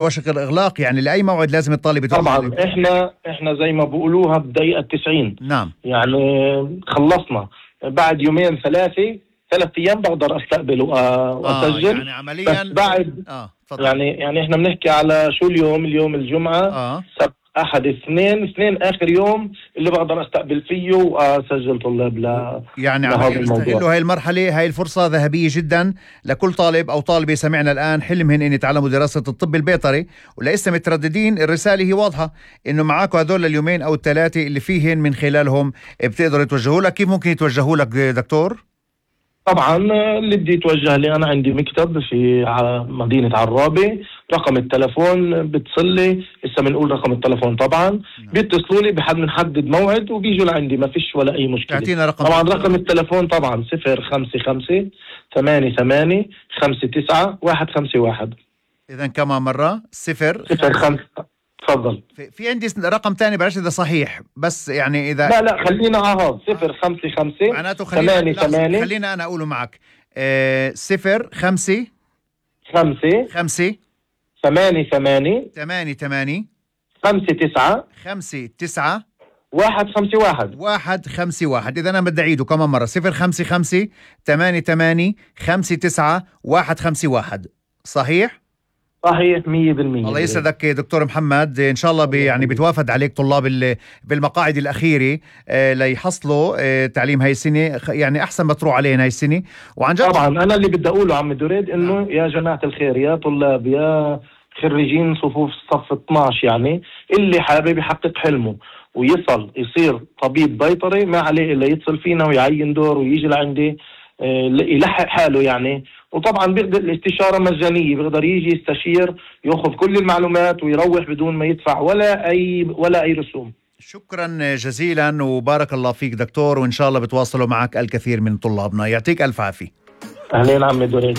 وشك الإغلاق يعني لأي موعد لازم الطالب يتوجه؟ طبعا احنا زي ما بقولوها بدقيقة 90. نعم. يعني خلصنا بعد يومين 3 أيام بقدر استقبل واسجل. يعني عمليا بس بعد تفضل. يعني احنا بنحكي على شو اليوم الجمعة سبت أحد اثنين آخر يوم اللي بقدر استقبل فيه واسجل طلاب يعني عمليا استغلوا هاي المرحلة، هاي الفرصة ذهبية جدا لكل طالب أو طالبة سمعنا الآن حلمهن إن يتعلموا دراسة الطب البيطري ولسه مترددين. الرسالة هي واضحة إنه معاكم هذول اليومين أو ال3 اللي فيهن من خلالهم بتقدروا يتوجهوا لك. كيف ممكن يتوجهوا لك دكتور؟ طبعا اللي بدي يتوجه لي أنا عندي مكتب في مدينة عرابة، رقم التلفون بتصلي لسه بنقول رقم التلفون طبعا بيتصلوا لي بنحدد موعد وبيجوا لعندي ما فيش ولا أي مشكلة. طبعا رقم التلفون طبعا 055-88-59-151. إذا كمان مرة 05. تفضل. في عندي رقم تاني بعرفش إذا صحيح بس يعني إذا لا خلينا 055 معناته 88. خلينا أنا أقوله معك 055 88 59 151. إذا أنا بدي أعيده كمان مرة 055 88 59 151. صحيح 100%. الله يسعدك دكتور محمد. إن شاء الله يعني بتوافد عليك طلاب بالمقاعد الأخيرة ليحصلوا تعليم هاي السنة، يعني أحسن ما تروح علينا هاي السنة. وعن جد طبعا أنا اللي بدي أقوله عم دريد إنه يا جماعة الخير يا طلاب يا خريجين صفوف صف 12 يعني اللي حابب يحقق حلمه يصير طبيب بيطري ما عليه إلا يتصل فينا ويعين دور ويجي لعندي يلحق حاله يعني. وطبعا بيقدر الاستشارة مجانية، بيقدر يجي يستشير يأخذ كل المعلومات ويروح بدون ما يدفع ولا أي رسوم. شكرا جزيلا وبارك الله فيك دكتور، وإن شاء الله بتواصلوا معك الكثير من طلابنا. يعطيك ألف عافية. أهلين عمي دورين.